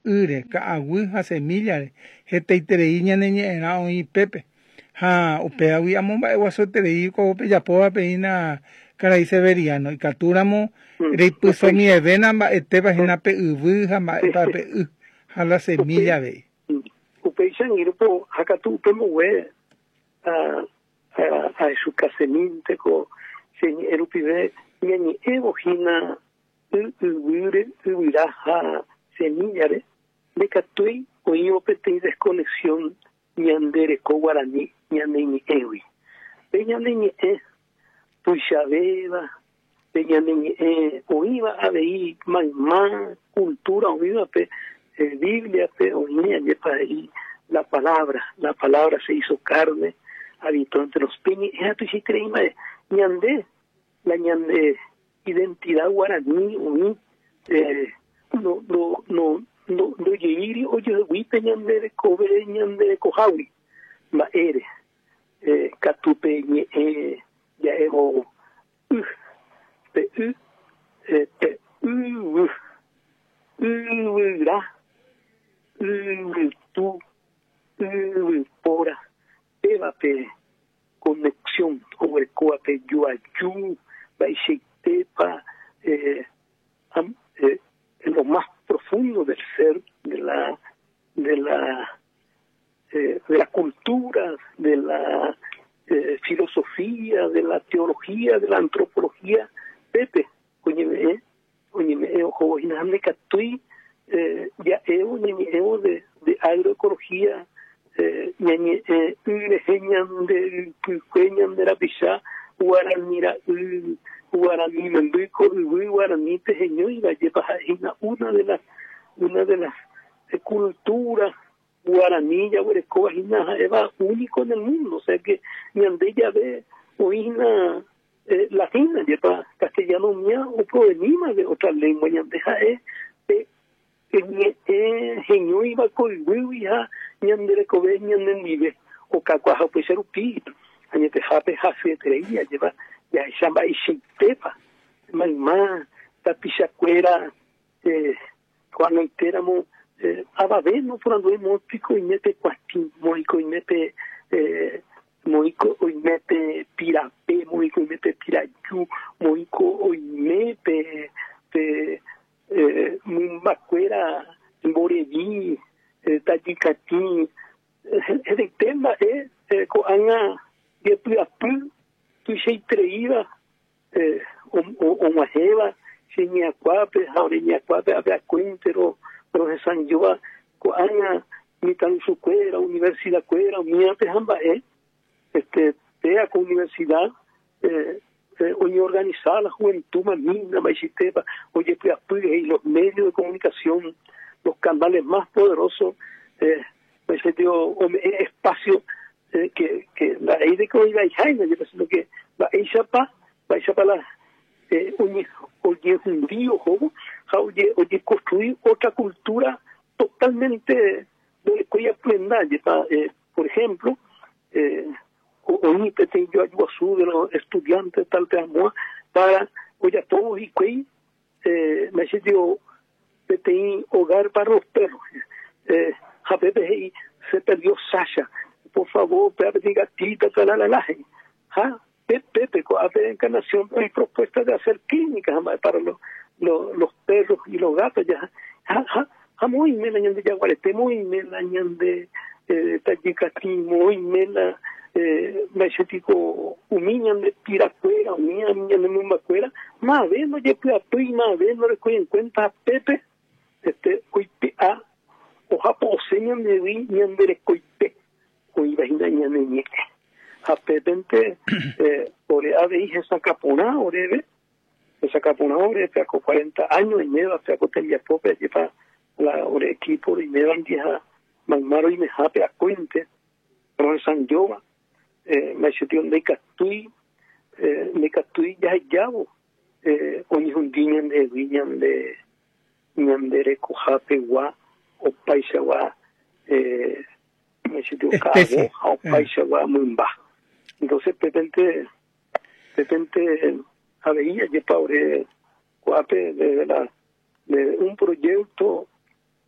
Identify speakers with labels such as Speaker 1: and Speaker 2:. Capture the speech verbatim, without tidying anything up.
Speaker 1: ýre, ka'aguy ha semillare, hetaiterei ñane ñe'ẽrã oĩ pépe. Ha upévagui amomba'eguasueterei ko pejapóva peína karai Severiano, ikatúramo reipysomiẽvéna mba'etépa hína pe yvy ha mba'épa pe y ha la semilla avei.
Speaker 2: Upéicha angirũpo ha katu upe mbogue ahechukasemínte ko che ñe'ẽ rupive ñañe'ẽvo hína y yvýre, yvyra ha semillare, ndekatúi oĩvo peteĩ desconexión ñande reko guarani ñane ñe'ẽgui. Pe ñane ñe'ẽ tuichavéva, pe ñane ñe'ẽ oĩva avei mayma cultura oĩvape, eh, Bibliape oĩ ajépa he'i la palabra, la palabra se hizo carne, habitó entre los pe ñe'ẽ tuichaiterei mba'e ñande la ñande identidad guarani oĩ eh, no no no no ndojeíri ojeguípe ñande rekove ñande rekohágui mba'ére eh, katu pe ñe'ẽ ja'évo y pe y eh, pe yvy yvyra yvytu yvypóra péva pe conexión oguerekóva pe joaju mba'eichaitépa eh, am, eh, en lo más profundo del ser de la de la eh, de la cultura, de la eh, filosofía, de la teología, de la antropología, Pepe, oñeme'ẽ, oñeme'ẽ ohóvo hína ndekatúi eh, ja'évo ñañe'ẽvo de, de agroecología, eh, ñañe'ẽ y rehe ñande ypykue ñande rapicha guarani ra'y guarani memby ko yvy guarani teheñóiva jepa ha'ehína una de las una de las culturas guaraní jaguerekóva hína ha'éva único en el mundo, o sea que ñande jave oĩhína eh, latina jepa castellano mía oproveníma de otra lengua ñande ha'e pe ñe'ẽ heñóiva ko yvýgui ha ñande rekove ñanendive okakuaaha upéicha rupi añetehápe hasyeterei ajépa jahecha mba'eichaitépa mayma tapichakuéra eh, ko'ag̃aitéramo eh, avave noporandúi moõpiko oime pe kuatĩ moõiko oime pe eh, moõiko oime pe pirape moõiko oime pe piraju moõiko oime pe pe eh, mymbakuéra mborevi eh, tajykatĩ hetaite mba'e eh, ko'ág̃a jepy'apy tuichaitereíva eh, og̃uahẽva che ñe'ãkuápe ha ore ñe'ãkuápe ápe akóinte rohesãijóva ko'ág̃a mitãrusukuéra universidad-kuéra umíape ha mba'e este péa ko universidad eh, eh, oñeorganiza la juventud mamína mba'eichaitépa ojepy'apy he'i los medios de comunicación los canales más poderosos eh, ome'ẽ espacio eh, que que nda'éi de que oĩvaiháina jepe sino que mba'éichapa mba'éichapa la eh, oñe ojehundi ohóvo ha oje ojeconstruir otra cultura totalmente ndorekói aprenda jepa eh, por ejemplo eh, oĩ peteĩ joaju guasu de los estudiantes tal pe para ojapóvo hikuái eh, mba'eichaite peteĩ hogar para los perros eh, ha pépe he'i se perdió Sasha por favor péa peteĩ gatita talalala he'i ha Pepe ko'ápe Encarnación hay propuesta de hacer clínicas para los, los, los perros y los gatos ya ha ha ha moĩme la ñande jaguarete moĩme la ñande eh, tajykatĩ moĩme la eh, mba'eichaitiko umi ñande pirakuéra umi ñande mymbakuéra mave ndojepy'apýi mave ndorekói en cuenta pépe este oipe'a ojapo'ose ñandegui ñande rekoite oĩva hína ñane ñe'ẽ ha pépente eh, ore avei hesakãporã oréve hesakãporã ore peako cuarenta años oiméva peako tembiapópe ajépa la ore equipo roimévandive ha mayma roimehápe akóinte rohesãijóva eh, mba'eichaite ndaikatúi eh, ndaikatúi jahejávo eh, oñehundi ñandehegui ñande ñande rekohápegua opaichagua eh, mba'eichaite ka'avo ha opaichagua mymba entonces pépente pépente avei ajépa ore ko'ápe desde la de un proyecto